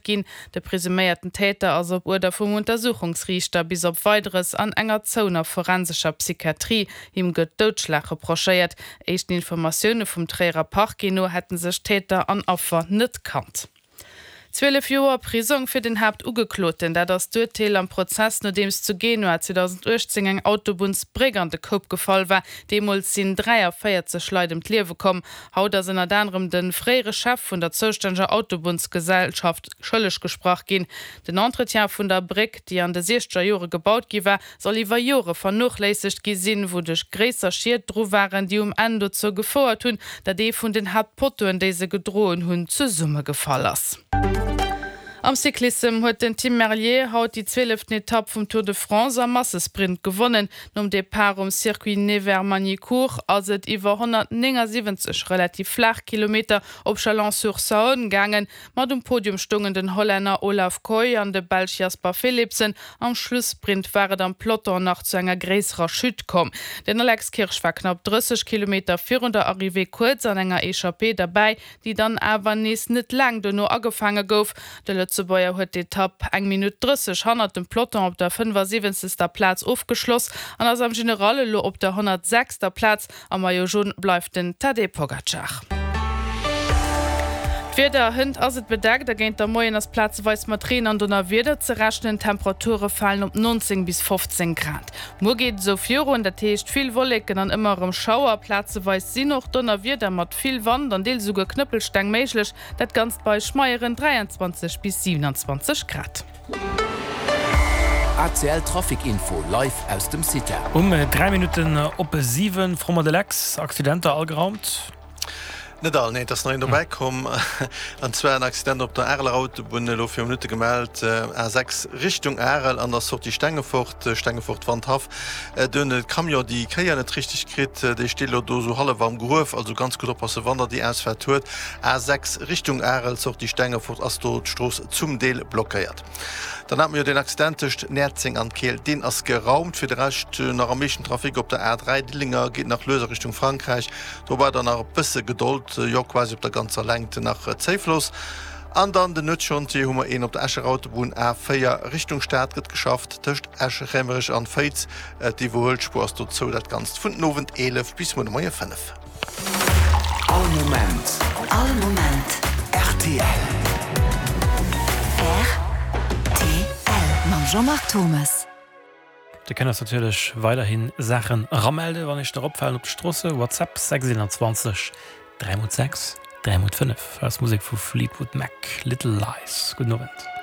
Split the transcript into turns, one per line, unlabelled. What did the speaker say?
ginn. De presuméierten Täter ass op Uerder vum Untersuchungsriichter bis op Weideres an enger zouener forensescher Psychiatrie. Him gëtt Doudschlag reprochéiert. Éischten Informatioune vum Tréierer Parquet no hätte sech Täter an Affer net kannt. 12 Joer Prisong fir den Haaptugekloten, dat ass d'Urteel am Prozess, nodeems zu Genua 2018 eng Autobunnsbréck an de Koup gefall war. Deemools sinn 43 Leit ëm d'Liewe komm. Haut ass ënnert anerem de fréiere Chef vun der zoustänneger Autobunnsgesellschaft schëlleg gesprach ginn. Den Entretien vun der Bréck, déi an de siechzeger Jore gebaut gi war, soll iwwer Jore vernochléissegt gi sinn, wouduerch gréisser Schied dru waren, déi um Enn dozou gefouert hunn, datt ee vun den Haaptpottoen, déi se gedroen hunn, zesummegefall ass. Am Cyclissem huet den Tim Merlier haut déi zwieleften Etapp vum Tour de France am Massesprint gewonnen. Nom Depart um Circuit Nevers-Magny-Cours ass et iwwer 179 relativ flaach Kilometer op Chalon-sur-Saône gaangen. Mat um Podium stoungen den Hollänner Olav Kooij an de Belsch Jasper Philipsen. Am Schlussprint war et am Peloton nach zu enger gréisserer Chute komm. Den Alex Kirsch war knapp 30 Kilometer virun der Arrivée kuerz an enger Echappée derbäi, déi dann awer nees net laang dono agefaange gouf. De Lëtzebuerger huet d'Etapp eng Minutt 30 hannert dem Peloton op der 75. Plaz ofgeschloss an ass am General elo op der 106. Plaz. Am Maillot Jaune bleift den Tadej Pogacar. D'Wieder, Hënt ass et bedeckt a géint der Moien ass plazeweis mat Reen an Donnerwieder ze rechnen. D'Temperature falen op 19 bis 15 Grad. Muer geet et esou virun, dat heescht vill Wolleken an ëmmer erëm Schauer. Plazeweis sinn och Donnerwieder mat vill Wand an deels esouguer Knëppelsteng méiglech. Dat Ganzt bei schmeieren 23 bis 27 Grad.
ACL Trafic Info live aus dem CITA.
Um 3 Minutten op 7, Fromm mat Alex, Accidenter all geraumt?
Net all, nee, et ass nach een dobäi komm, an zwar en Accident op der Areler Autobunn, elo viru Minutte gemellt, A6 Richtung Arel an der Sortie Stengefort, Stengefort-Wandhaff. Do hunn de Camion déi Kéier net richteg kritt, dee steet elo do esou hallef am Gruef, also ganz gutt oppassen, wann der déi Ausfaart huet. A6 Richtung Arel, Sortie Stengefort, ass do d'Strooss zum Deel blockéiert. Dann hate mer jo deen Accident tëscht Näerzeng an Keel, deen ass geraumt. Fir de Rescht nach am meeschten Trafic op der A3, Diddelénger geet nach lues a Richtung Frankräich. Do war dann nach e bësse Gedold, jo quasi op der ganzer Längt nach Zéifloss. An dann den Nuetschantier hu mer een op der Escher Autobunn, A4 Richtung Stad gëtt geschafft tëscht Esch-Raemerich an Féiz. D'Iwwerhuelspuer ass do zou, dat Ganzt vun den Owend 11 bis muer de Moie 5.
All Moment.
All Moment.
Rtl.
Rtl. Mam Jean-Marc Thomes.
Dir kënnt eis natierlech weiderhi Saachen eramelde wann iech der opfalen op de Stroosse. WhatsApp 621 3 x 6 3 x 5. Hei ass Musek vu Fleetwood Mac, Little Lies. Gudden Owend.